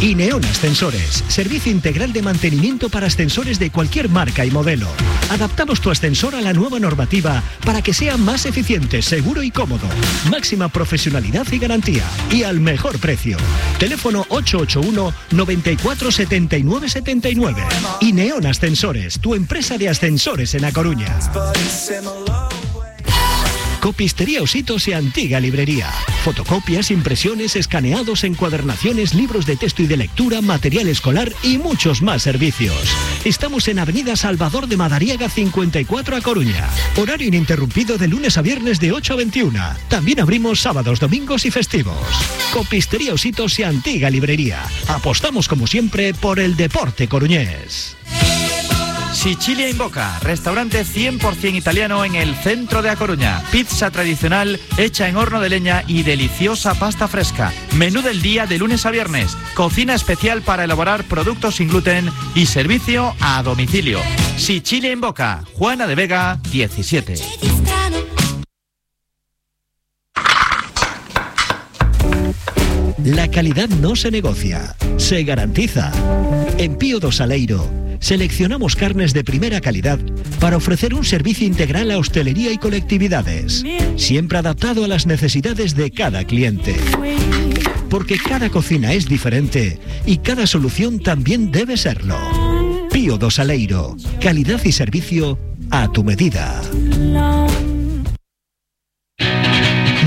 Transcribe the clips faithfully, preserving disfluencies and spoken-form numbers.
Ineon Ascensores, servicio integral de mantenimiento para ascensores de cualquier marca y modelo. Adaptamos tu ascensor a la nueva normativa para que sea más eficiente, seguro y cómodo. Máxima profesionalidad y garantía. Y al mejor precio. Teléfono ocho ocho uno, noventa y cuatro, setenta y nueve, setenta y nueve. Ineon Ascensores, tu empresa de ascensores en A Coruña. Copistería Ositos y Antiga Librería. Fotocopias, impresiones, escaneados, encuadernaciones, libros de texto y de lectura, material escolar y muchos más servicios. Estamos en Avenida Salvador de Madariaga cincuenta y cuatro, A Coruña. Horario ininterrumpido de lunes a viernes de ocho a veintiuna. También abrimos sábados, domingos y festivos. Copistería Ositos y Antiga Librería. Apostamos como siempre por el deporte coruñés. Sicilia in Boca, restaurante cien por ciento italiano en el centro de A Coruña. Pizza tradicional hecha en horno de leña y deliciosa pasta fresca. Menú del día de lunes a viernes. Cocina especial para elaborar productos sin gluten y servicio a domicilio. Sicilia in Boca, Juana de Vega, diecisiete. La calidad no se negocia, se garantiza. En Pío do Saleiro seleccionamos carnes de primera calidad para ofrecer un servicio integral a hostelería y colectividades, siempre adaptado a las necesidades de cada cliente. Porque cada cocina es diferente y cada solución también debe serlo. Pío do Saleiro, calidad y servicio a tu medida.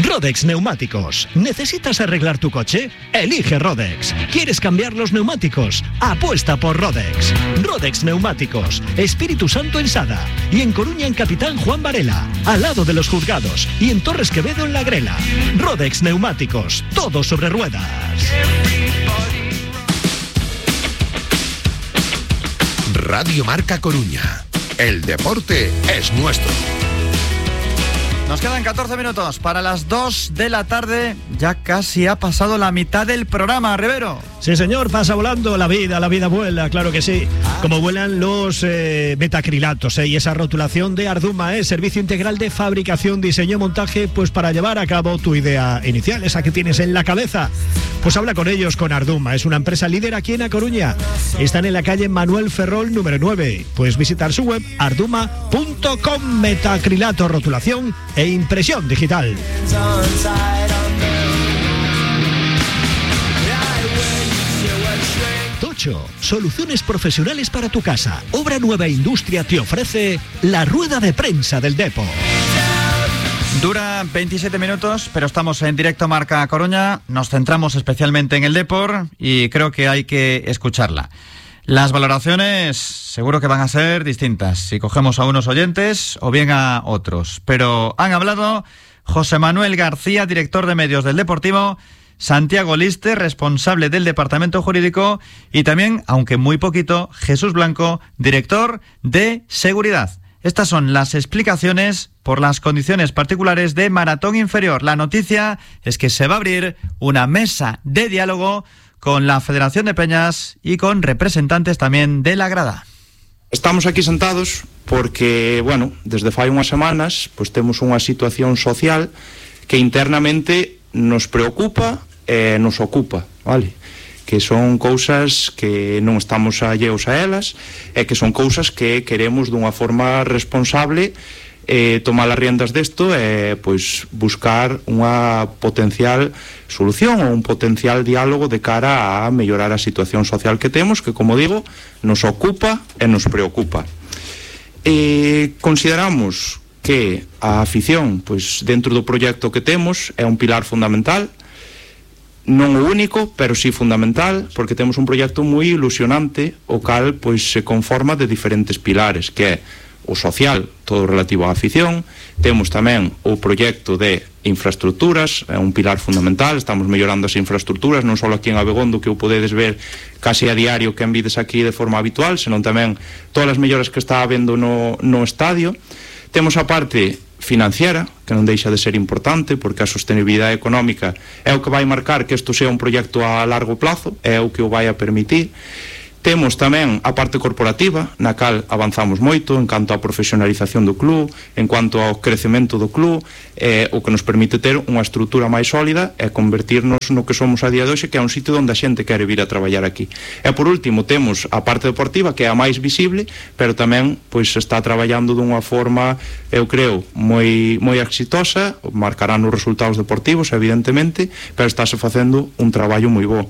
Rodex Neumáticos. ¿Necesitas arreglar tu coche? Elige Rodex. ¿Quieres cambiar los neumáticos? Apuesta por Rodex. Rodex Neumáticos. Espíritu Santo en Sada. Y en Coruña en Capitán Juan Varela. Al lado de los juzgados. Y en Torres Quevedo en La Grela. Rodex Neumáticos. Todo sobre ruedas. Radio Marca Coruña. El deporte es nuestro. Nos quedan catorce minutos para las dos de la tarde. Ya casi ha pasado la mitad del programa, Rivero. Sí, señor, pasa volando la vida, la vida vuela, claro que sí. Como vuelan los eh, metacrilatos eh, y esa rotulación de Arduma, eh, servicio integral de fabricación, diseño, montaje, pues para llevar a cabo tu idea inicial, esa que tienes en la cabeza. Pues habla con ellos, con Arduma. Es una empresa líder aquí en A Coruña. Están en la calle Manuel Ferrol, número nueve. Puedes visitar su web, arduma punto com. Metacrilato, rotulación e impresión digital. Tocho, soluciones profesionales para tu casa. Obra Nueva Industria te ofrece la rueda de prensa del Depo. Dura veintisiete minutos, pero estamos en directo Marca Coruña. Nos centramos especialmente en el Depor y creo que hay que escucharla. Las valoraciones seguro que van a ser distintas si cogemos a unos oyentes o bien a otros. Pero han hablado José Manuel García, director de medios del Deportivo, Santiago Liste, responsable del departamento jurídico, y también, aunque muy poquito, Jesús Blanco, director de seguridad. Estas son las explicaciones por las condiciones particulares de Maratón Inferior. La noticia es que se va a abrir una mesa de diálogo con la Federación de Peñas y con representantes tamén de la grada. Estamos aquí sentados porque, bueno, desde fai unhas semanas pois temos unha situación social que internamente nos preocupa e nos ocupa, vale? Que son cousas que non estamos alleos a elas e que son cousas que queremos dunha forma responsable eh, tomar as riendas desto e pois buscar unha potencial solución ou un potencial diálogo de cara a mellorar a situación social que temos, que, como digo, nos ocupa e nos preocupa. Eh, consideramos que a afición, pois dentro do proxecto que temos, é un pilar fundamental, non o único, pero sí fundamental, porque temos un proxecto moi ilusionante, o cal pois se conforma de diferentes pilares, que é o social, todo relativo á afición. Temos tamén o proxecto de infraestructuras, é un pilar fundamental. Estamos mellorando as infraestructuras, non só aquí en Abegondo, que o podedes ver case a diario que envides aquí de forma habitual, senón tamén todas as melloras que está habendo no, no estadio. Temos a parte financiera, que non deixa de ser importante, porque a sostenibilidade económica é o que vai marcar que isto sea un proxecto a largo plazo, é o que o vai a permitir. Temos tamén a parte corporativa, na cal avanzamos moito en canto á profesionalización do club, en cuanto ao crecemento do club, eh, o que nos permite ter unha estrutura máis sólida e convertirnos no que somos a día de hoxe, que é un sitio onde a xente quere vir a traballar aquí. E por último temos a parte deportiva, que é a máis visible, pero tamén pois está traballando dunha forma, eu creo, moi moi exitosa, marcarán os resultados deportivos, evidentemente, pero estáse facendo un traballo moi bo.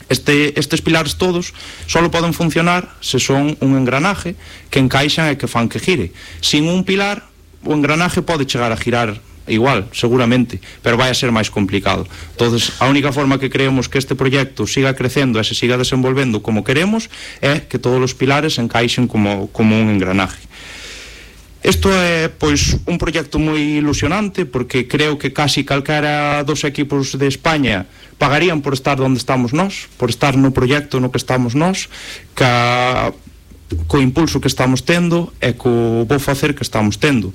Este, estes pilares todos só poden funcionar se son un engranaje que encaixan e que fan que gire. Sin un pilar, o engranaje pode chegar a girar igual, seguramente, pero vai a ser máis complicado. Entonces, a única forma que creemos que este proxecto siga crecendo e se siga desenvolvendo como queremos é que todos os pilares encaixen como, como un engranaje. Isto é, pois, un proxecto moi ilusionante, porque creo que casi calquera dos equipos de España pagarían por estar onde estamos nós, por estar no proxecto no que estamos nós, ca, co impulso que estamos tendo e co bo facer que estamos tendo.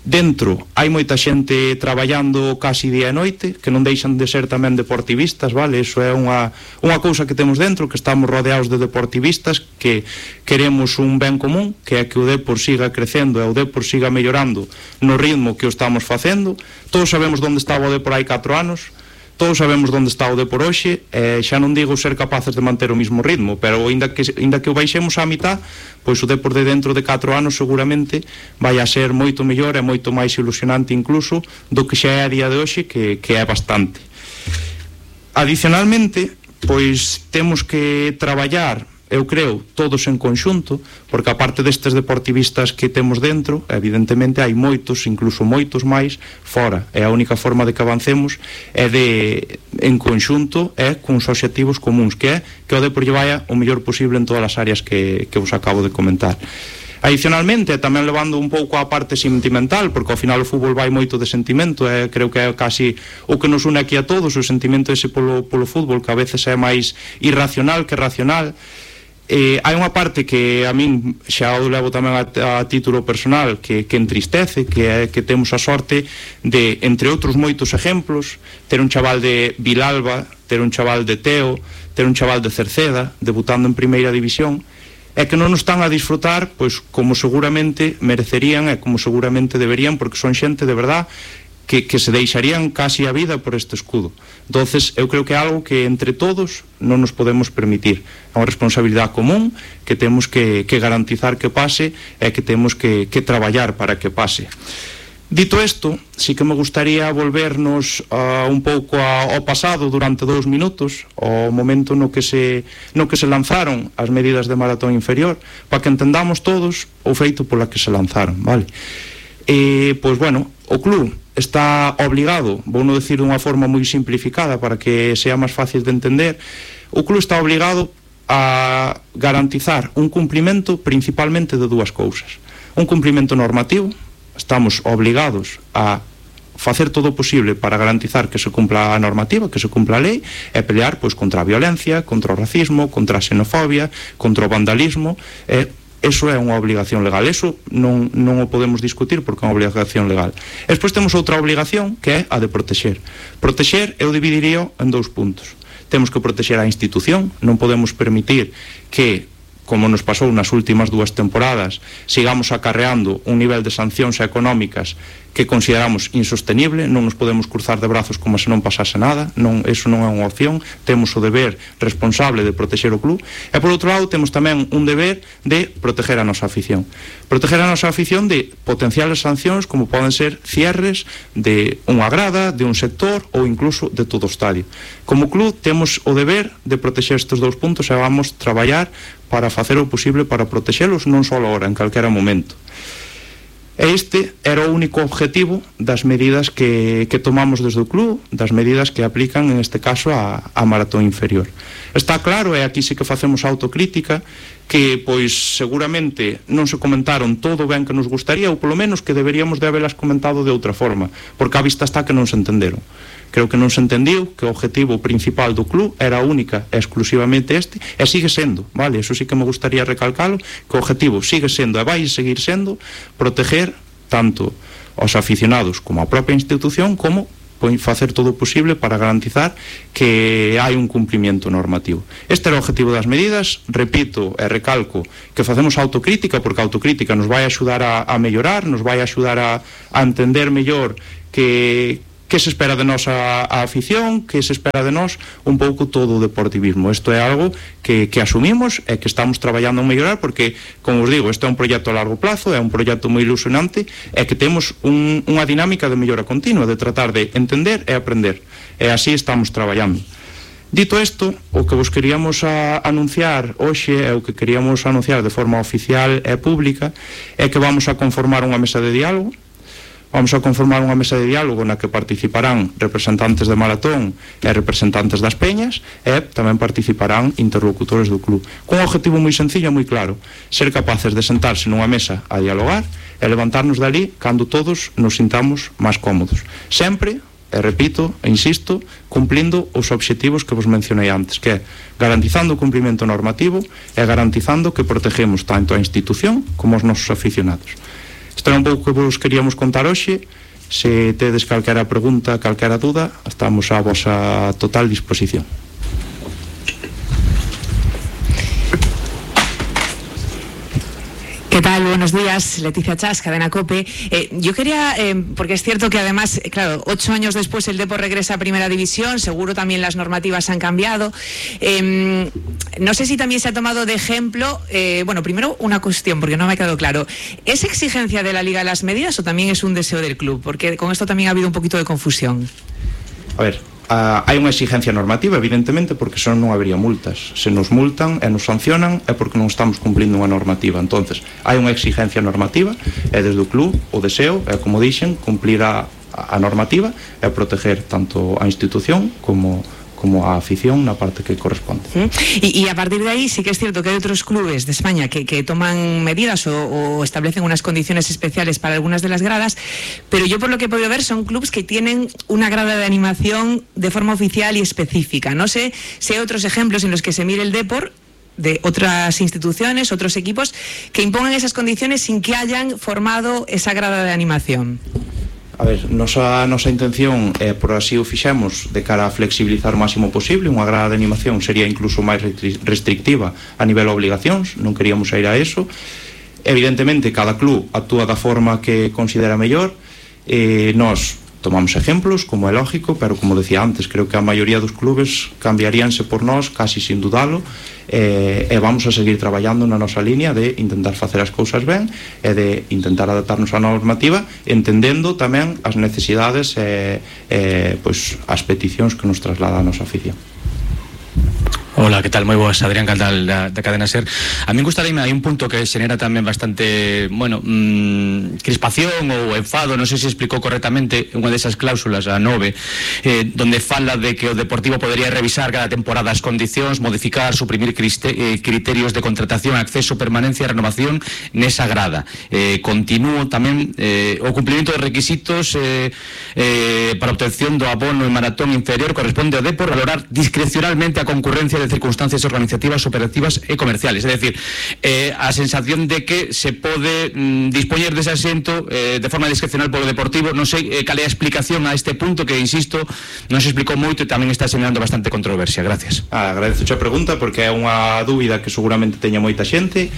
Dentro hai moita xente traballando casi día e noite, que non deixan de ser tamén deportivistas, vale? Iso é unha, unha cousa que temos dentro, que estamos rodeados de deportivistas, que queremos un ben común, que é que o Depor siga crecendo e o Depor siga mellorando no ritmo que o estamos facendo. Todos sabemos onde estaba o Depor hai catro anos, todos sabemos onde está o Depor hoxe, e xa non digo ser capaces de manter o mismo ritmo, pero ainda que, ainda que o baixemos á mitad, pois o Depor de dentro de catro anos seguramente vai a ser moito mellor e moito máis ilusionante incluso do que xa é a día de hoxe, que, que é bastante. Adicionalmente, pois temos que traballar, eu creo, todos en conxunto, porque aparte destes deportivistas que temos dentro, evidentemente hai moitos, incluso moitos máis fora, e a única forma de que avancemos é de, en conxunto, é cuns obxectivos comuns, que é que o Depor lle vaya o mellor posible en todas as áreas que, que vos acabo de comentar. Adicionalmente, tamén levando un pouco a parte sentimental, porque ao final o fútbol vai moito de sentimento, e creo que é casi o que nos une aquí a todos, o sentimento ese polo, polo fútbol, que a veces é máis irracional que racional. Eh, hai unha parte que a min xa o levo tamén a, a título personal, que, que entristece, que é que temos a sorte de, entre outros moitos exemplos, ter un chaval de Vilalba, ter un chaval de Teo, ter un chaval de Cerceda debutando en primeira división, e que non nos están a disfrutar pois como seguramente merecerían e como seguramente deberían, porque son xente de verdad Que, que se deixarían casi a vida por este escudo. Entonces, eu creo que é algo que entre todos non nos podemos permitir. É unha responsabilidade común que temos que, que garantizar que pase e que temos que, que traballar para que pase. Dito isto, sí que me gustaría volvernos uh, un pouco a, ao pasado durante dous minutos, ao momento no que se no que se lanzaron as medidas de maratón inferior, para que entendamos todos o feito pola que se lanzaron, vale? E, pois, bueno, o club está obligado, vou non decir dunha forma moi simplificada para que sea máis fácil de entender, o club está obligado a garantizar un cumprimento principalmente de dúas cousas. Un cumprimento normativo, estamos obligados a facer todo o posible para garantizar que se cumpla a normativa, que se cumpla a lei, e pelear pois contra a violencia, contra o racismo, contra a xenofobia, contra o vandalismo, e eso é unha obligación legal, eso non, non o podemos discutir porque é unha obligación legal. E despois temos outra obligación que é a de protexer. Protexer eu dividiría en dous puntos. Temos que protexer a institución, non podemos permitir que, como nos pasou nas últimas dúas temporadas, sigamos acarreando un nivel de sancións económicas que consideramos insostenible, non nos podemos cruzar de brazos como se non pasase nada, non, eso non é unha opción, temos o deber responsable de protexer o club, e por outro lado temos tamén un deber de proteger a nosa afición. Proteger a nosa afición de potenciales sancións como poden ser cierres de unha grada, de un sector ou incluso de todo o estadio. Como club temos o deber de protexer estes dous puntos e vamos traballar para facer o posible para protexelos non só agora, en calquera momento. E este era o único objetivo das medidas que, que tomamos desde o club, das medidas que aplican, en este caso, a, a maratón inferior. Está claro, e aquí sí que facemos autocrítica, que, pois, seguramente non se comentaron todo o ben que nos gustaría, ou polo menos que deberíamos de habelas comentado de outra forma, porque a vista está que non se entenderon. Creo que non se entendiu que o objetivo principal do club era única e exclusivamente este, e sigue sendo, vale? Eso sí que me gustaría recalcalo, que o objetivo sigue sendo e vai seguir sendo proteger tanto aos aficionados como a propia institución como facer todo o posible para garantizar que hai un cumplimiento normativo. Este era o objetivo das medidas. Repito e recalco que facemos autocrítica, porque a autocrítica nos vai axudar a, a mellorar, nos vai axudar a, a entender mellor que que se espera de nós a, a afición, que se espera de nós un pouco todo o deportivismo. Isto é algo que, que asumimos e que estamos traballando en mellorar, porque, como os digo, este é un proxecto a largo plazo, é un proxecto moi ilusionante, e que temos un, unha dinámica de mellora continua, de tratar de entender e aprender, e así estamos traballando. Dito isto, o que vos queríamos a, anunciar hoxe, e o que queríamos anunciar de forma oficial e pública, é que vamos a conformar unha mesa de diálogo. Vamos a conformar unha mesa de diálogo na que participarán representantes de maratón e representantes das peñas, e tamén participarán interlocutores do club, con un objetivo moi sencillo e moi claro: ser capaces de sentarse nunha mesa a dialogar e levantarnos dali cando todos nos sintamos máis cómodos, sempre, e repito e insisto, cumplindo os obxectivos que vos mencionei antes, que é garantizando o cumprimento normativo e garantizando que protegemos tanto a institución como os nosos aficionados. Isto é un pouco que vos queríamos contar hoxe. Se tedes calquera pregunta, calquera duda, estamos a vosa total disposición. ¿Qué tal? Buenos días, Leticia Chas, Cadena COPE. Eh, yo quería, eh, porque es cierto que además, claro, ocho años después el Depor regresa a Primera División, seguro también las normativas han cambiado. Eh, no sé si también se ha tomado de ejemplo, eh, bueno, primero una cuestión, porque no me ha quedado claro. ¿Es exigencia de la Liga las medidas o también es un deseo del club? Porque con esto también ha habido un poquito de confusión. A ver, Uh, hai unha exigencia normativa, evidentemente, porque senón non habería multas. Se nos multan e nos sancionan é porque non estamos cumplindo unha normativa. Entonces, hai unha exigencia normativa e desde o club o deseo é, como dixen, cumplir a, a normativa e proteger tanto a institución como como a afición na parte que corresponde. ¿Mm? Y, y a partir de ahí sí que es cierto que hay otros clubes de España que, que toman medidas o, o establecen unas condiciones especiales para algunas de las gradas, pero yo por lo que he podido ver son clubes que tienen una grada de animación de forma oficial y específica. No sé si hay otros ejemplos en los que se mire el Depor de otras instituciones, otros equipos que impongan esas condiciones sin que hayan formado esa grada de animación. A ver, nosa, nosa intención é, por así o fixemos, de cara a flexibilizar o máximo posible. Unha grada de animación sería incluso máis restrictiva a nivel de obligacións, non queríamos ir a eso. Evidentemente, cada club actúa da forma que considera mellor. Eh, nós tomamos ejemplos, como é lógico, pero como decía antes, creo que a maioría dos clubes cambiaríanse por nós, casi sin dudalo, e, e vamos a seguir traballando na nosa línea de intentar facer as cousas ben e de intentar adaptarnos á normativa, entendendo tamén as necesidades e, e pois, as peticións que nos traslada a nosa afición. Hola, ¿qué tal? Moi boas, Adrián Caldal da, da Cadena SER. A mí gustaría, hai un punto que xenera tamén bastante, bueno, mmm, crispación ou enfado, non sei se explicou correctamente unha desas cláusulas, a nove, eh, donde fala de que o Deportivo podería revisar cada temporada as condicións, modificar, suprimir criste, eh, criterios de contratación, acceso, permanencia e renovación nesa grada. Eh, continúo tamén eh, o cumplimento dos requisitos eh, eh, para obtención do abono en maratón inferior corresponde ao Depor valorar discrecionalmente a concurrencia de circunstancias organizativas, operativas e comerciales. Es decir, eh, a sensación de que se pode mm, dispoñer dese asento eh, de forma discrecional polo Deportivo. Non sei eh, cal é a explicación a este punto que, insisto, non se explicou moito e tamén está xenerando bastante controversia. Gracias. Ah, agradezo a pregunta porque é unha dúbida que seguramente teña moita xente.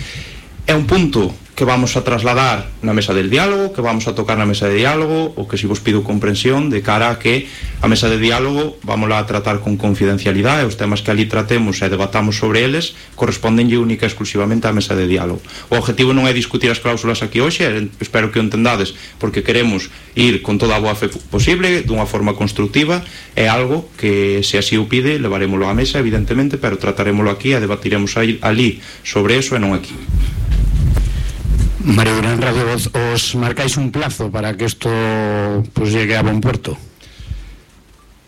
É un punto que vamos a trasladar na mesa del diálogo, que vamos a tocar na mesa de diálogo, o que si vos pido comprensión de cara a que a mesa de diálogo vamos a tratar con confidencialidade, os temas que ali tratemos e debatamos sobre eles correspondenlle única e exclusivamente á mesa de diálogo. O objetivo non é discutir as cláusulas aquí hoxe, espero que o entendades, porque queremos ir con toda a boa fe posible, dunha forma constructiva. É algo que, se así o pide, levaremoslo á mesa, evidentemente, pero trataremoslo aquí e debatiremos ali sobre eso e non aquí. Mario Durán, Radio Voz, ¿os marcáis un plazo para que esto pues llegue a buen puerto?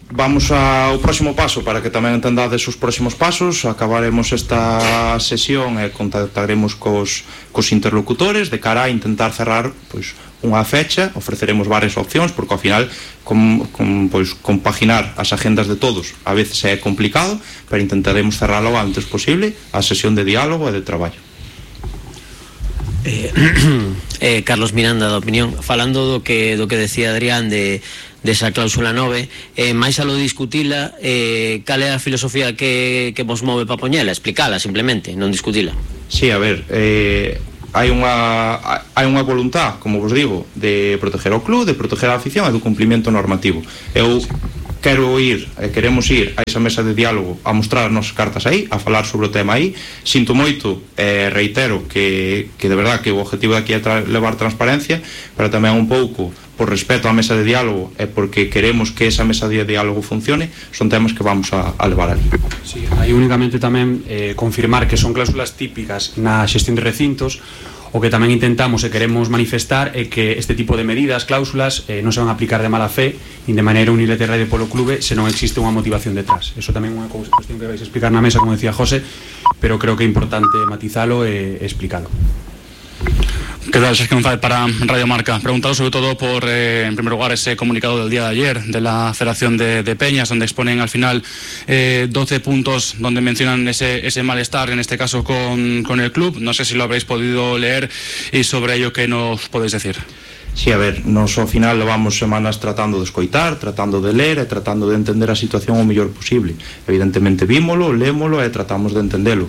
Vamos ao próximo paso, para que tamén entendades os próximos pasos. Acabaremos esta sesión e contactaremos cos, cos interlocutores de cara a intentar cerrar pois, unha fecha. Ofreceremos varias opcións, porque ao final com, com, pois, compaginar as agendas de todos a veces é complicado, pero intentaremos cerralo o antes posible a sesión de diálogo e de traballo. Eh, eh, Carlos Miranda, da Opinión. Falando do que do que decía Adrián de desa cláusula nove, eh, máis a lo discutila, eh, cal é a filosofía que, que vos move para poñela? Explicala simplemente, non discutila. Sí, a ver, eh, hai unha hai unha voluntad, como vos digo, de proteger o club, de proteger a afición e do cumprimento normativo. Eu quero ir, eh, queremos ir a esa mesa de diálogo a mostrar as nosas cartas aí, a falar sobre o tema aí. Sinto moito, eh, reitero que, que de verdad que o objetivo de aquí é tra levar transparencia, pero tamén un pouco por respeto á mesa de diálogo e porque queremos que esa mesa de diálogo funcione, son temas que vamos a, a levar ali. Sí, hai únicamente tamén eh, confirmar que son cláusulas típicas na xestión de recintos. O que tamén intentamos e queremos manifestar é que este tipo de medidas, cláusulas, eh, non se van a aplicar de mala fe nin de maneira unilateral polo clube se non existe unha motivación detrás. Eso tamén é unha cuestión que vais a explicar na mesa, como decía José, pero creo que é importante matizalo e explicalo. ¿Qué tal, Sergio González para Radio Marca? Preguntado sobre todo por, eh, en primer lugar, ese comunicado del día de ayer de la Federación de, de Peñas, donde exponen al final eh, doce puntos donde mencionan ese, ese malestar, en este caso con, con el club. No sé si lo habréis podido leer y sobre ello, ¿qué nos podéis decir? Sí, a ver, nos ao final levamos semanas tratando de escoitar, tratando de ler e tratando de entender a situación o mellor posible. Evidentemente vímolo, lémolo e tratamos de entendelo.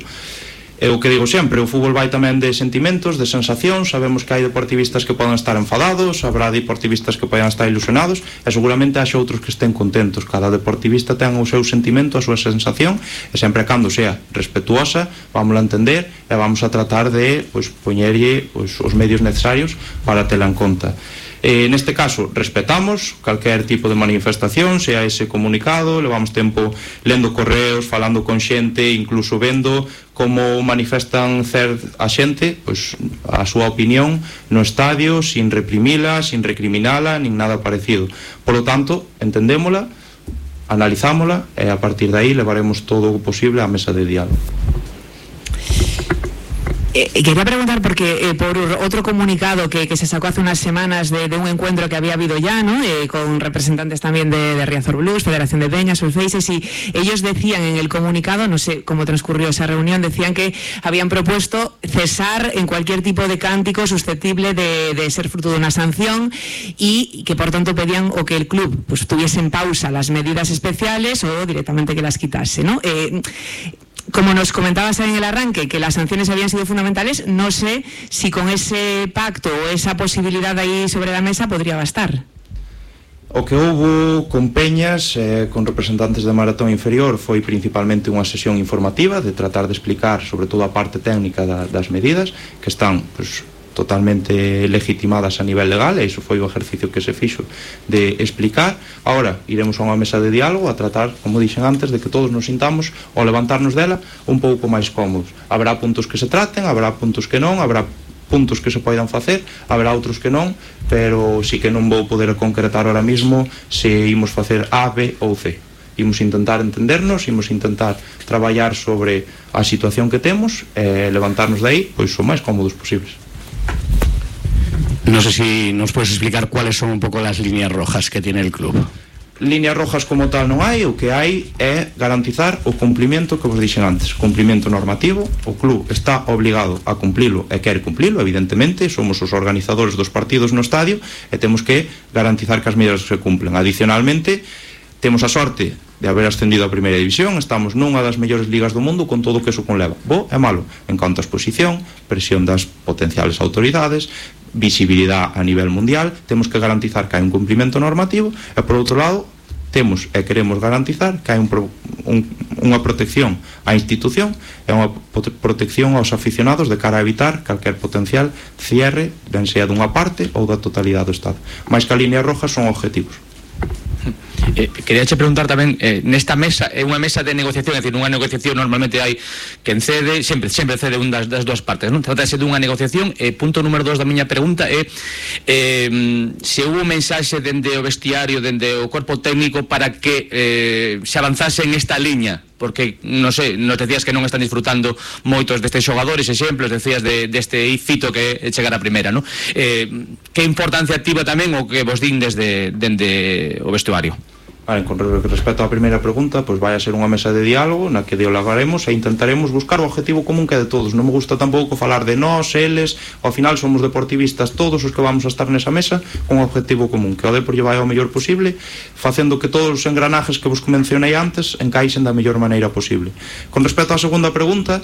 É o que digo sempre, o fútbol vai tamén de sentimentos, de sensacións. Sabemos que hai deportivistas que poden estar enfadados, habrá deportivistas que poden estar ilusionados e seguramente haxa outros que estén contentos. Cada deportivista ten o seu sentimento, a súa sensación, e sempre cando sea respetuosa vamos a entender e vamos a tratar de pois, poñerlle pois, os medios necesarios para tela en conta. Eh, neste caso, respetamos calquer tipo de manifestación, sea ese comunicado, levamos tempo lendo correos, falando con xente, incluso vendo como manifestan cer a xente, pois a súa opinión no estadio, sin reprimila, sin recriminala, nin nada parecido. Por lo tanto, entendémola, analizámola e a partir de aí levaremos todo o posible á mesa de diálogo. Eh, quería preguntar porque eh, por otro comunicado que, que se sacó hace unas semanas de, de un encuentro que había habido ya, ¿no? Eh, con representantes también de, de Riazor Blues, Federación de Peñas, Faces, y ellos decían en el comunicado, no sé cómo transcurrió esa reunión, decían que habían propuesto cesar en cualquier tipo de cántico susceptible de, de ser fruto de una sanción y que por tanto pedían o que el club pues tuviese en pausa las medidas especiales o directamente que las quitase, ¿no? Eh, Como nos comentabas en el arranque, que las sanciones habían sido fundamentales, no sé si con ese pacto o esa posibilidad ahí sobre la mesa podría bastar. O que houve con Peñas, eh, con representantes de Maratón Inferior, foi principalmente unha sesión informativa de tratar de explicar sobre todo a parte técnica da, das medidas que están pues, totalmente legitimadas a nivel legal, e iso foi o exercicio que se fixo de explicar. Ahora iremos a unha mesa de diálogo a tratar, como dixen antes, de que todos nos sintamos ao levantarnos dela un pouco máis cómodos. Habrá puntos que se traten, habrá puntos que non, habrá puntos que se poidan facer, habrá outros que non, pero sí que non vou poder concretar ahora mismo se imos facer A, B ou C. Imos intentar entendernos, imos intentar traballar sobre a situación que temos e levantarnos de aí pois o máis cómodos posibles. No sé si nos puedes explicar cuáles son un poco las líneas rojas que tiene el club. Líneas rojas como tal non hai, o que hai é garantizar o cumprimento que vos dixen antes, cumprimento normativo. O club está obligado a cumplilo e quere cumplilo, evidentemente, somos os organizadores dos partidos no estadio e temos que garantizar que as medidas se cumplen. Adicionalmente, temos a sorte de haber ascendido a primeira división, estamos nunha das mellores ligas do mundo con todo o que eso conleva, bo e malo, en canto a exposición, presión das potenciales autoridades, visibilidade a nivel mundial. Temos que garantizar que hai un cumprimento normativo e, por outro lado, temos e queremos garantizar que hai un, un, unha protección á institución e unha protección aos aficionados de cara a evitar calquer potencial cierre, ben sea dunha parte ou da totalidade do Estado. Mais que a línea roja son objetivos. Eh, quería che preguntar tamén, eh, nesta mesa é unha mesa de negociación, é dicir, unha negociación normalmente hai quen cede, sempre sempre cede un das, das dúas partes, non? Trátase dunha negociación. E eh, punto número dos da miña pregunta é eh, se houve un mensaxe dende o vestiario, dende o corpo técnico para que eh, se avanzase en esta liña, porque, non sei, nos decías que non están disfrutando moitos destes xogadores, exemplos, decías de, deste fito que chegar a primeira, non? Eh, que importancia activa tamén o que vos din desde, dende o vestuario? A Vale, con respecto á primeira pregunta, pois vai a ser unha mesa de diálogo na que dialogaremos e intentaremos buscar o objetivo común que é de todos. Non me gusta tampouco falar de nós, eles, ao final somos deportivistas todos os que vamos a estar nesa mesa con un objetivo común, que o Depor lle vai ao mellor posible, facendo que todos os engranajes que vos mencionei antes encaixen da mellor maneira posible. Con respecto á segunda pregunta,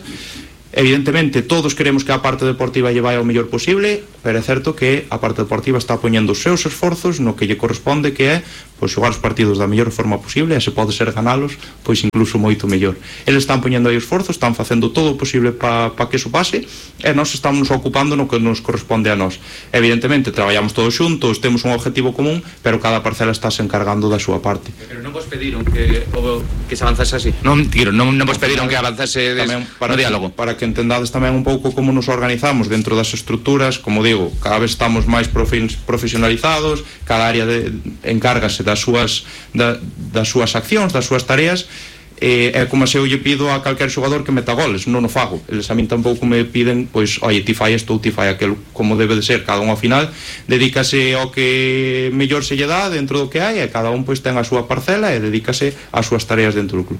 evidentemente todos queremos que a parte deportiva lle vai ao mellor posible, pero é certo que a parte deportiva está poñendo os seus esforzos no que lle corresponde, que é pois xogar os partidos da mellor forma posible, e se pode ser ganalos, pois incluso moito mellor. Eles están poñendo aí esforzos, están facendo todo o posible para pa que eso pase, e nós estamos ocupando no que nos corresponde a nós. Evidentemente traballamos todos xuntos, temos un objetivo común, pero cada parcela está se encargando da súa parte. Pero non vos pediron que o, que se avanzase así. Non, tiro, non, non vos pediron que avanzase des, para no diálogo. Que, para que entendades tamén un pouco como nos organizamos dentro das estruturas, como digo, cada vez estamos máis profesionalizados, cada área de, encárgase das súas, da, das súas accións, das súas tareas, e é como se eu lle pido a calquer xogador que meta goles, non o fago. Eles a min tampouco me piden, pois, oi, ti fai isto ou ti fai aquilo, como debe de ser. Cada un ao final dedícase ao que mellor se lle dá dentro do que hai, e cada un pois ten a súa parcela e dedícase ás súas tareas dentro do club.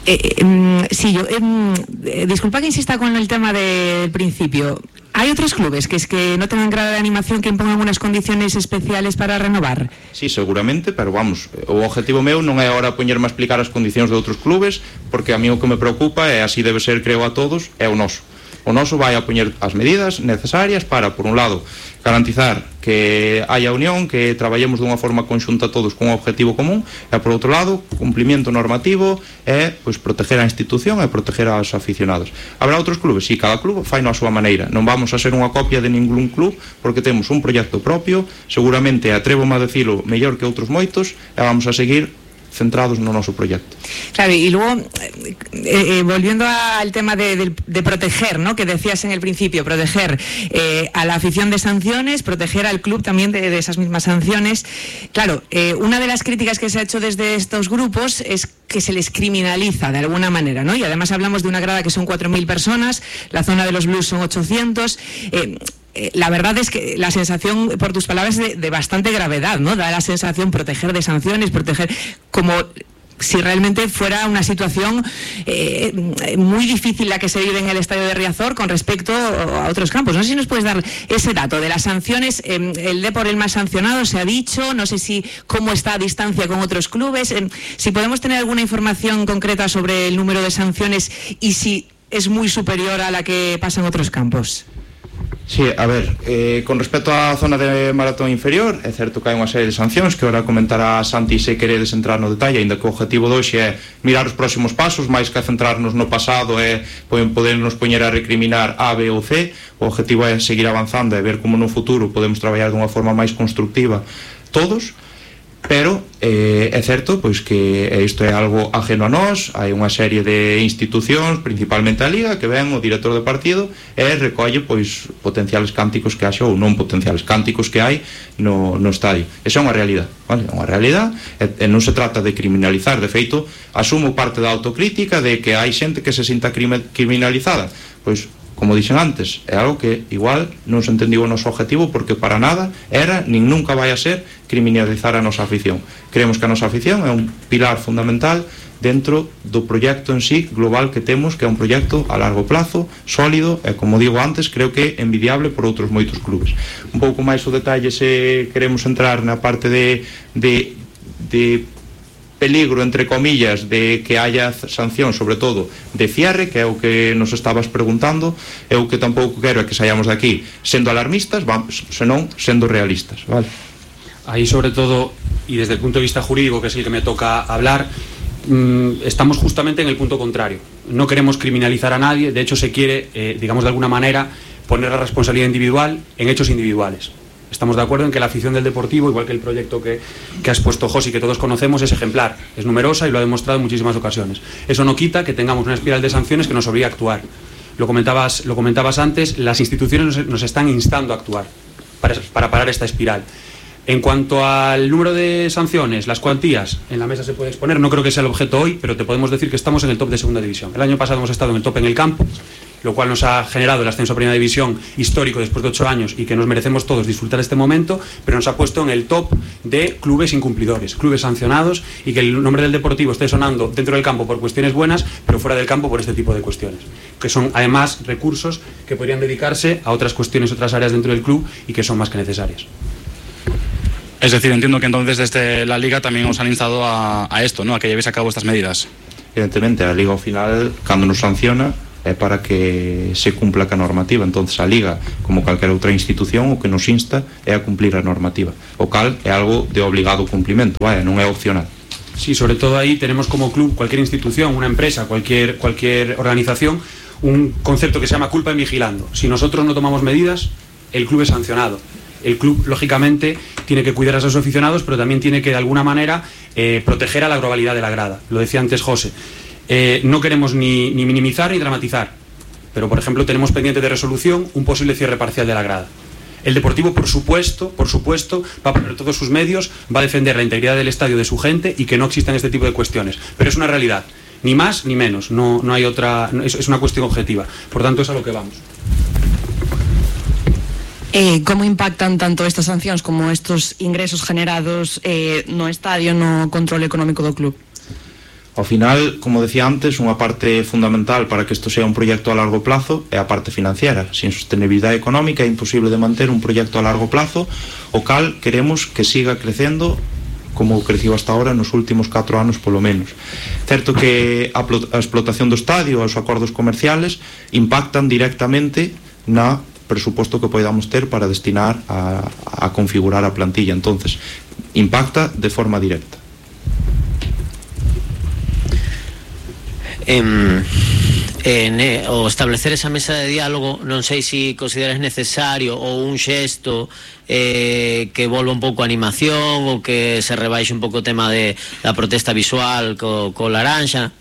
Eh, eh, sí, yo, eh, disculpa que insista con el tema del principio. ¿Hay otros clubes que es que no tengan grado de animación que impongan unas condiciones especiales para renovar? Sí, seguramente, pero vamos, o objetivo meu non é ahora poñerme a explicar as condicións de outros clubes, porque a mí o que me preocupa, e así debe ser, creo, a todos, é o noso. O noso vai a poñer as medidas necesarias para, por un lado, garantizar que haya unión, que traballemos dunha forma conxunta todos con un objetivo común, e, por outro lado, cumplimento normativo e, pois, proteger a institución e proteger aos aficionados. Habrá outros clubes? Si, cada club fai na súa maneira. Non vamos a ser unha copia de ningún club, porque temos un proxecto propio, seguramente, atrevo-me a decilo, mellor que outros moitos, e vamos a seguir centrados no noso proyecto. Claro, y luego, eh, eh, volviendo al tema de, de, de proteger, ¿no?, que decías en el principio, proteger eh, a la afición de sanciones, proteger al club también de, de esas mismas sanciones. Claro, eh, una de las críticas que se ha hecho desde estos grupos es que se les criminaliza de alguna manera, ¿no? Y además hablamos de una grada que son cuatro mil personas, la zona de los Blues son ochocientos. Eh, Eh, la verdad es que la sensación, por tus palabras, de, de bastante gravedad, ¿no? Da la sensación proteger de sanciones, proteger como si realmente fuera una situación eh, muy difícil la que se vive en el estadio de Riazor con respecto a otros campos. No sé si nos puedes dar ese dato de las sanciones. Eh, el Depor el más sancionado, se ha dicho. No sé si cómo está a distancia con otros clubes. Eh, si podemos tener alguna información concreta sobre el número de sanciones y si es muy superior a la que pasa en otros campos. Sí, a ver, eh, con respecto á zona de maratón inferior, é certo que hai unha serie de sancións que ora comentará Santi se queredes entrar no detalle, ainda que o objetivo de hoxe é mirar os próximos pasos, máis que centrarnos no pasado e podernos poñer a recriminar A, B ou C. O objetivo é seguir avanzando e ver como no futuro podemos traballar dunha forma máis constructiva todos. Pero eh, é certo pois que isto é algo ajeno a nós. Hai unha serie de institucións, principalmente a Liga, que ven o director de partido e recolle pois potenciales cánticos que haxa ou non potenciales cánticos que hai no, no estadio. Esa é unha realidade, vale? É unha realidade e, e non se trata de criminalizar. De feito, asumo parte da autocrítica de que hai xente que se sinta criminalizada. Pois, como dixen antes, é algo que igual non se entendiu o noso objetivo, porque para nada era, nin nunca vai a ser, criminalizar a nosa afición. Creemos que a nosa afición é un pilar fundamental dentro do proxecto en sí global que temos, que é un proxecto a largo plazo, sólido, e como digo antes, creo que é envidiable por outros moitos clubes. Un pouco máis o detalle se queremos entrar na parte de, de, de peligro, entre comillas, de que haya sanción, sobre todo de cierre, que é o que nos estabas preguntando. Eu que tampouco quero é que saíamos de aquí sendo alarmistas, vamos, senón sendo realistas, vale? Ahí, sobre todo, y desde el punto de vista jurídico, que es el que me toca hablar, mmm, estamos justamente en el punto contrario. No queremos criminalizar a nadie, de hecho se quiere, eh, digamos de alguna manera, poner la responsabilidad individual en hechos individuales. Estamos de acuerdo en que la afición del Deportivo, igual que el proyecto que, que ha expuesto Josi, que todos conocemos, es ejemplar, es numerosa y lo ha demostrado en muchísimas ocasiones. Eso no quita que tengamos una espiral de sanciones que nos obliga a actuar. Lo comentabas, lo comentabas antes, las instituciones nos, nos están instando a actuar para, para parar esta espiral. En cuanto al número de sanciones, las cuantías, en la mesa se puede exponer, no creo que sea el objeto hoy, pero te podemos decir que estamos en el top de segunda división. El año pasado hemos estado en el top en el campo, lo cual nos ha generado el ascenso a Primera División histórico después de ocho años y que nos merecemos todos disfrutar este momento, pero nos ha puesto en el top de clubes incumplidores, clubes sancionados, y que el nombre del Deportivo esté sonando dentro del campo por cuestiones buenas, pero fuera del campo por este tipo de cuestiones, que son además recursos que podrían dedicarse a otras cuestiones, otras áreas dentro del club y que son más que necesarias. Es decir, entiendo que entonces desde la Liga también os han instado a, a esto, ¿no? A que llevéis a cabo estas medidas. Evidentemente, a Liga ao final, cando nos sanciona, é para que se cumpla ca normativa. Entonces a Liga, como calquera outra institución, o que nos insta é a cumplir a normativa, o cal é algo de obligado cumplimento, vaya, non é opcional. Sí, sobre todo ahí tenemos como club, cualquier institución, una empresa, cualquier, cualquier organización, un concepto que se llama culpa en vigilando. Si nosotros no tomamos medidas, el club es sancionado. El club, lógicamente, tiene que cuidar a sus aficionados, pero también tiene que, de alguna manera, eh, proteger a la globalidad de la grada. Lo decía antes José. Eh, no queremos ni, ni minimizar ni dramatizar, pero por ejemplo tenemos pendiente de resolución un posible cierre parcial de la grada. El Deportivo, por supuesto, por supuesto, va a poner todos sus medios, va a defender la integridad del estadio, de su gente, y que no existan este tipo de cuestiones. Pero es una realidad, ni más ni menos, no, no hay otra, no, es, es una cuestión objetiva. Por tanto, es a lo que vamos. Eh, como impactan tanto estas sancións como estos ingresos generados eh, no estadio, no control económico do club? Ao final, como decía antes, unha parte fundamental para que isto sea un proxecto a largo plazo é a parte financiera. Sin sostenibilidade económica é imposible de manter un proxecto a largo plazo, o cal queremos que siga crecendo como creciu hasta ahora nos últimos catro anos polo menos. Certo que a, a explotación do estadio, os acordos comerciales impactan directamente na presuposto que podamos ter para destinar a, a configurar a plantilla. Entonces, impacta de forma directa. En, en, eh, o establecer esa mesa de diálogo, non sei se si consideras necesario ou un xesto eh, que volva un pouco a animación ou que se rebaixe un pouco o tema de, da protesta visual co, co laranxa.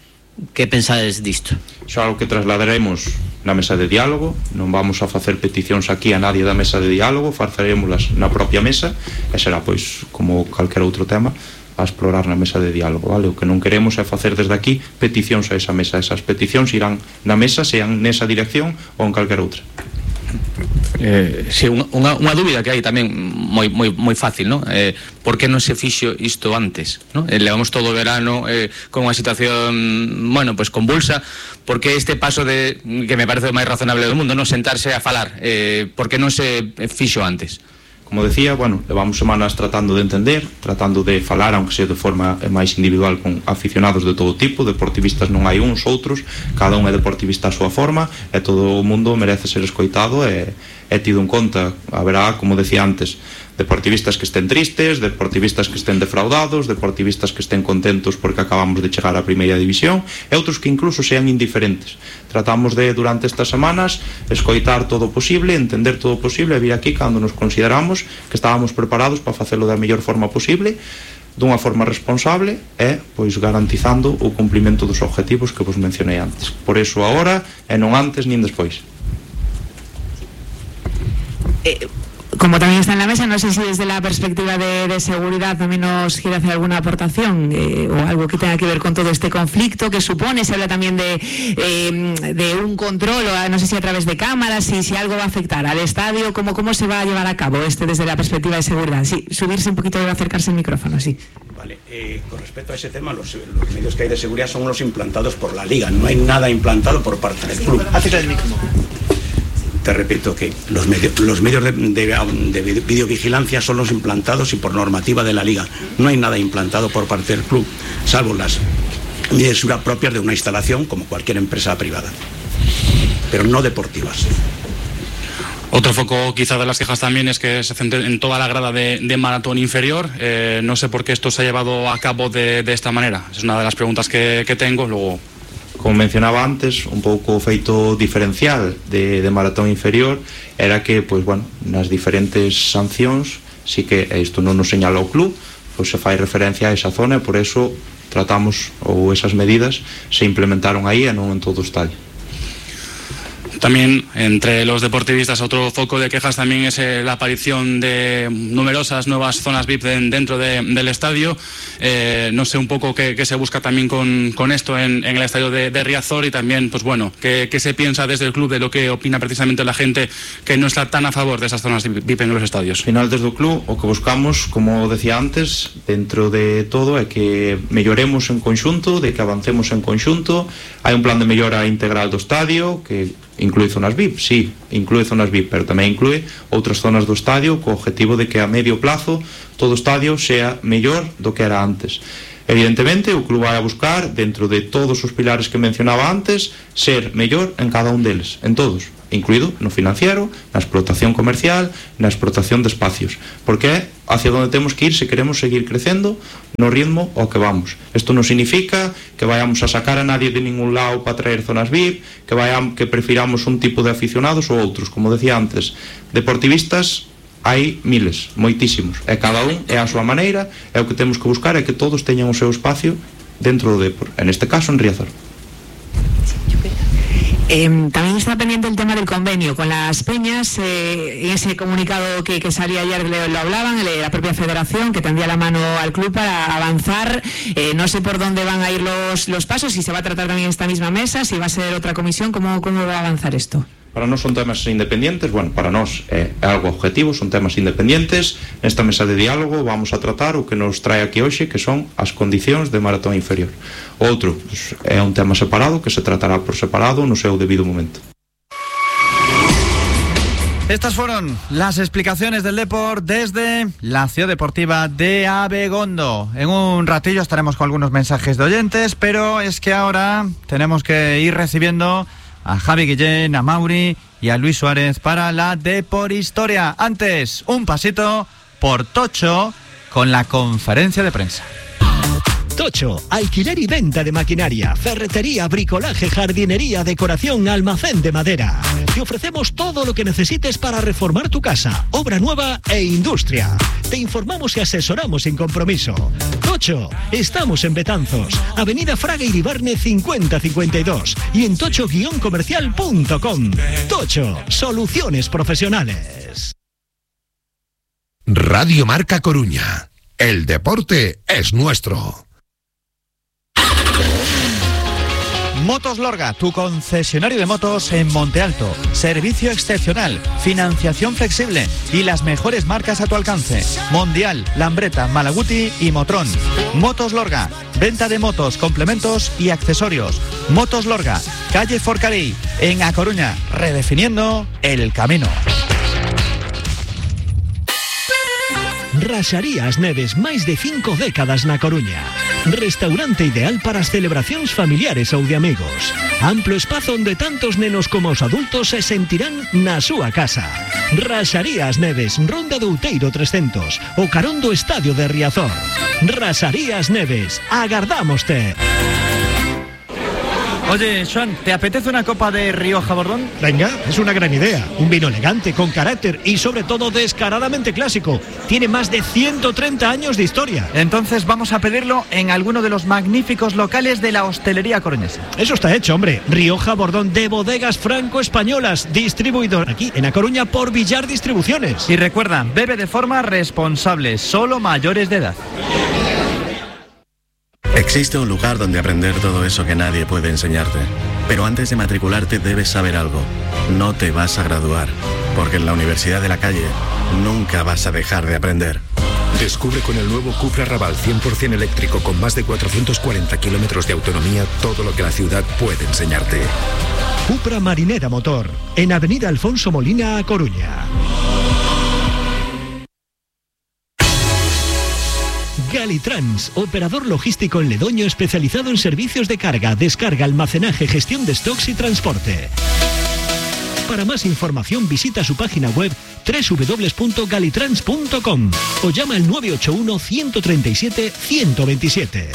Que pensades disto? Iso é algo que trasladaremos na mesa de diálogo. Non vamos a facer peticións aquí a nadie da mesa de diálogo, facerémolas na propia mesa e será, pois, como calquer outro tema, a explorar na mesa de diálogo, vale? O que non queremos é facer desde aquí peticións a esa mesa. Esas peticións irán na mesa, sean nesa dirección ou en calquer outra. Eh, si, unha, unha dúbida que hai tamén moi, moi, moi fácil, ¿no? Eh, por que non se fixo isto antes, ¿no? Eh, levamos todo o verano eh, con unha situación, bueno, pues convulsa. Por que este paso de, que me parece o máis razonable do mundo, ¿no? Sentarse a falar, eh, por que non se fixo antes? Como decía, bueno, levamos semanas tratando de entender, tratando de falar, aunque sea de forma máis individual, con aficionados de todo tipo. Deportivistas non hai uns, outros, cada un é deportivista a súa forma, e todo o mundo merece ser escoitado e, e tido en conta. Haberá, como decía antes, deportivistas que estén tristes, deportivistas que estén defraudados, deportivistas que estén contentos porque acabamos de chegar á Primeira División, e outros que incluso sean indiferentes. Tratamos de, durante estas semanas, escoitar todo o posible, entender todo o posible, e vir aquí cando nos consideramos que estábamos preparados para facelo da mellor forma posible, dunha forma responsable e, pois, garantizando o cumprimento dos objetivos que vos mencionei antes. Por iso agora, e non antes nin despois. Eh... Como también está en la mesa, no sé si desde la perspectiva de, de seguridad también nos quiere hacer alguna aportación eh, o algo que tenga que ver con todo este conflicto que supone. Se habla también de, eh, de un control, o no sé si a través de cámaras, si, si algo va a afectar al estadio, ¿cómo, cómo se va a llevar a cabo este desde la perspectiva de seguridad? Sí, subirse un poquito y acercarse el micrófono, sí. Vale, eh, con respecto a ese tema, los, los medios que hay de seguridad son los implantados por la Liga, no hay nada implantado por parte del club. Acércate el micrófono. Te repito que los medios, los medios de, de, de videovigilancia son los implantados y por normativa de la Liga. No hay nada implantado por parte del club, salvo las medidas propias de una instalación como cualquier empresa privada, pero no deportivas. Otro foco quizá de las quejas también es que se centre en toda la grada de, de maratón inferior. Eh, no sé por qué esto se ha llevado a cabo de, de esta manera. Es una de las preguntas que, que tengo. Luego, como mencionaba antes, un pouco o feito diferencial de, de maratón inferior era que, pois, bueno, nas diferentes sancións, si que isto non nos señala o club, pois se fai referencia a esa zona, e por eso tratamos, ou esas medidas se implementaron aí e non en todo o estadio. También entre los deportivistas otro foco de quejas también es eh, la aparición de numerosas nuevas zonas V I P de, dentro de, del estadio. Eh, no sé un poco qué, qué se busca también con, con esto en, en el estadio de, de Riazor, y también, pues bueno, qué, qué se piensa desde el club de lo que opina precisamente la gente que no está tan a favor de esas zonas V I P en los estadios. Al final, desde o club, o que buscamos, como decía antes, dentro de todo é que melloremos en conxunto, de que avancemos en conxunto. Hai un plan de mellora integral do estadio que inclúe zonas V I P, sí, inclúe zonas V I P, pero tamén inclúe outras zonas do estadio co objetivo de que a medio plazo todo o estadio sea mellor do que era antes. Evidentemente, o club vai a buscar, dentro de todos os pilares que mencionaba antes, ser mellor en cada un deles, en todos, incluído no financiero, na explotación comercial, na explotación de espacios, porque é hacia onde temos que ir se queremos seguir crecendo no ritmo ao que vamos. Isto non significa que vayamos a sacar a nadie de ningún lado para traer zonas V I P, que, vayamos, que prefiramos un tipo de aficionados ou outros. Como decía antes, deportivistas hai miles, moitísimos, e cada un é a súa maneira, e o que temos que buscar é que todos teñan o seu espacio dentro do Depor, en este caso en Riazor. Eh, también está pendiente el tema del convenio con las peñas. Eh, en ese comunicado que, que salía ayer lo, lo hablaban, el, la propia federación, que tendía la mano al club para avanzar. Eh, no sé por dónde van a ir los, los pasos, si se va a tratar también esta misma mesa, si va a ser otra comisión, ¿cómo, cómo va a avanzar esto? Para nós son temas independientes, bueno, para nós é algo objetivo, son temas independientes. Nesta mesa de diálogo vamos a tratar o que nos trae aquí hoxe, que son as condicións de maratón inferior. Outro, pues, é un tema separado que se tratará por separado no seu debido momento. Estas fueron las explicaciones del Depor desde la Ciudad Deportiva de Abegondo. En un ratillo estaremos con algunos mensajes de oyentes, pero es que ahora tenemos que ir recibiendo a Javi Guillén, a Mauri y a Luis Suárez para la Depor Historia. Antes, un pasito por Tocho con la conferencia de prensa. Tocho, alquiler y venta de maquinaria, ferretería, bricolaje, jardinería, decoración, almacén de madera. Te ofrecemos todo lo que necesites para reformar tu casa, obra nueva e industria. Te informamos y asesoramos sin compromiso. Tocho, estamos en Betanzos, Avenida Fraga Iribarne cincuenta cincuenta y dos y en tocho guion comercial punto com. Tocho, soluciones profesionales. Radio Marca Coruña. El deporte es nuestro. Motos Lorga, tu concesionario de motos en Monte Alto. Servicio excepcional, financiación flexible y las mejores marcas a tu alcance. Mondial, Lambretta, Malaguti y Motrón. Motos Lorga, venta de motos, complementos y accesorios. Motos Lorga, calle Forcarí, en A Coruña, redefiniendo el camino. Raxarías Neves, máis de cinco décadas na Coruña. Restaurante ideal para as celebracións familiares ou de amigos. Amplo espazo onde tantos nenos como os adultos se sentirán na súa casa. Raxarías Neves, Ronda do Outeiro trescentos, o carón do estadio de Riazor. Raxarías Neves, agardámoste. Oye, Joan, ¿te apetece una copa de Rioja Bordón? Venga, es una gran idea. Un vino elegante, con carácter y sobre todo descaradamente clásico. Tiene más de ciento treinta años de historia. Entonces vamos a pedirlo en alguno de los magníficos locales de la hostelería coruñesa. Eso está hecho, hombre. Rioja Bordón de Bodegas Franco-Españolas, distribuidor aquí en A Coruña por Villar Distribuciones. Y recuerda, bebe de forma responsable, solo mayores de edad. Existe un lugar donde aprender todo eso que nadie puede enseñarte. Pero antes de matricularte debes saber algo. No te vas a graduar, porque en la Universidad de la Calle nunca vas a dejar de aprender. Descubre con el nuevo Cupra Raval cien por ciento eléctrico con más de cuatrocientos cuarenta kilómetros de autonomía todo lo que la ciudad puede enseñarte. Cupra Marinera Motor, en Avenida Alfonso Molina, A Coruña. Galitrans, operador logístico en Ledoño especializado en servicios de carga, descarga, almacenaje, gestión de stocks y transporte. Para más información visita su página web doble u doble u doble u punto galitrans punto com o llama al nueve ocho uno, uno tres siete, uno dos siete.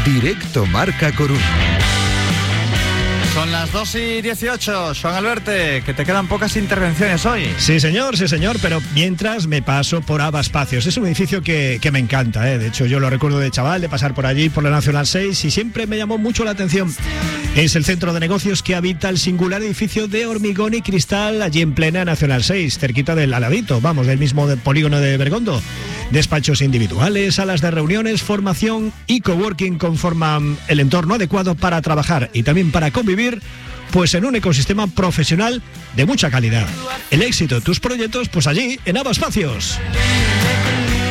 Directo Marca Coruña. Son Son las dos y dieciocho. Joan Alberte, que te quedan pocas intervenciones hoy. Sí, señor, sí, señor, pero mientras me paso por Ava Espacios. Es un edificio que, que me encanta, ¿eh? De hecho, yo lo recuerdo de chaval, de pasar por allí, por la Nacional seis, y siempre me llamó mucho la atención. Es el centro de negocios que habita el singular edificio de hormigón y cristal allí en plena Nacional seis, cerquita del aladito, vamos, del mismo polígono de Bergondo. Despachos individuales, salas de reuniones, formación y coworking conforman el entorno adecuado para trabajar y también para convivir, pues en un ecosistema profesional de mucha calidad. El éxito de tus proyectos, pues allí, en Ava Espacios.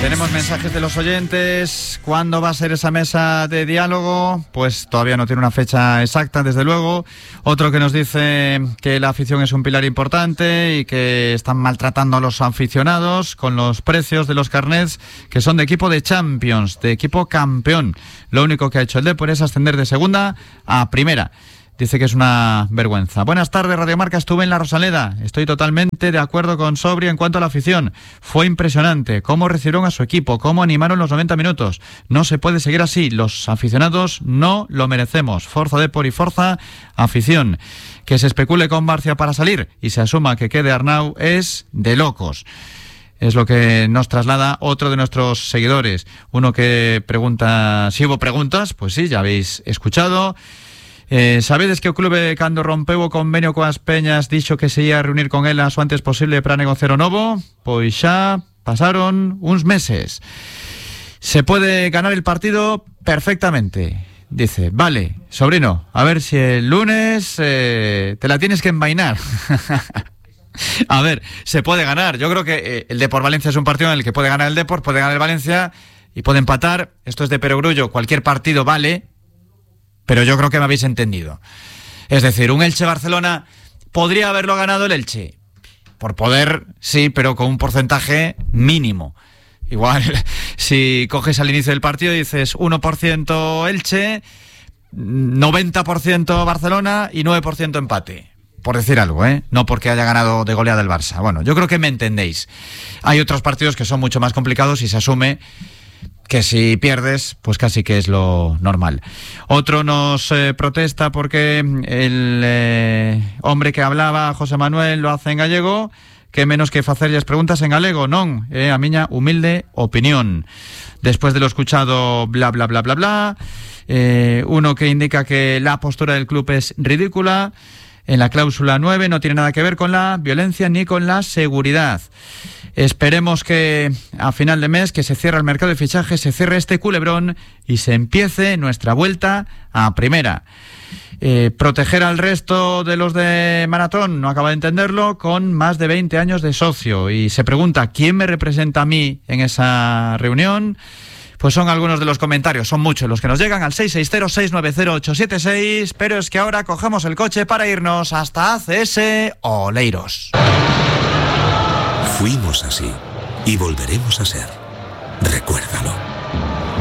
Tenemos mensajes de los oyentes. ¿Cuándo va a ser esa mesa de diálogo? Pues todavía no tiene una fecha exacta, desde luego. Otro que nos dice que la afición es un pilar importante y que están maltratando a los aficionados con los precios de los carnets, que son de equipo de Champions, de equipo campeón. Lo único que ha hecho el Depor es ascender de segunda a primera. Dice que es una vergüenza. Buenas tardes, Radio Marca. Estuve en la Rosaleda. Estoy totalmente de acuerdo con Sobri en cuanto a la afición. Fue impresionante cómo recibieron a su equipo, cómo animaron los noventa minutos. No se puede seguir así. Los aficionados no lo merecemos. Forza Depor y forza afición. Que se especule con Barcia para salir y se asuma que quede Arnau es de locos. Es lo que nos traslada otro de nuestros seguidores. Uno que pregunta si hubo preguntas. Pues sí, ya habéis escuchado. Eh, sabedes que o clube, cando rompeu o convenio coas Peñas, dixo que se ia a reunir con elas o antes posible para negociar o novo? Pois xa pasaron uns meses. Se puede ganar el partido perfectamente. Dice, vale, sobrino, a ver si el lunes eh, te la tienes que envainar. A ver, se puede ganar. Yo creo que eh, el Depor Valencia es un partido en el que puede ganar el Depor, puede ganar el Valencia y puede empatar. Esto es de perogrullo, cualquier partido vale. Pero yo creo que me habéis entendido. Es decir, un Elche-Barcelona podría haberlo ganado el Elche. Por poder, sí, pero con un porcentaje mínimo. Igual, si coges al inicio del partido y dices uno por ciento Elche, noventa por ciento Barcelona y nueve por ciento empate. Por decir algo, ¿eh? No porque haya ganado de goleada el Barça. Bueno, yo creo que me entendéis. Hay otros partidos que son mucho más complicados y se asume que si pierdes, pues casi que es lo normal. Otro nos eh, protesta porque el eh, hombre que hablaba, José Manuel, lo hace en gallego, que menos que facerlles preguntas en galego, non, eh, a miña humilde opinión. Después de lo escuchado, bla, bla, bla, bla, bla, eh, uno que indica que la postura del club es ridícula. En la cláusula nueve no tiene nada que ver con la violencia ni con la seguridad. Esperemos que a final de mes, que se cierre el mercado de fichajes, se cierre este culebrón y se empiece nuestra vuelta a primera. Eh, proteger al resto de los de Maratón, no acaba de entenderlo, con más de veinte años de socio. Y se pregunta, ¿quién me representa a mí en esa reunión? Pues son algunos de los comentarios, son muchos los que nos llegan al seis seis cero, seis nueve cero, ocho siete seis, pero es que ahora cogemos el coche para irnos hasta A C S Oleiros. Fuimos así y volveremos a ser. Recuérdalo.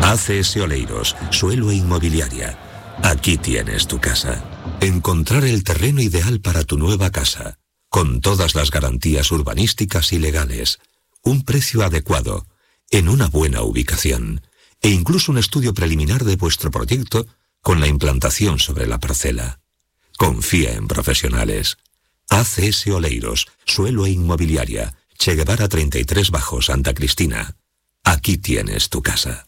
A C S Oleiros, suelo e inmobiliaria. Aquí tienes tu casa. Encontrar el terreno ideal para tu nueva casa, con todas las garantías urbanísticas y legales, un precio adecuado, en una buena ubicación, e incluso un estudio preliminar de vuestro proyecto con la implantación sobre la parcela. Confía en profesionales. A C S Oleiros, suelo e inmobiliaria, Che Guevara treinta y tres bajo, Santa Cristina. Aquí tienes tu casa.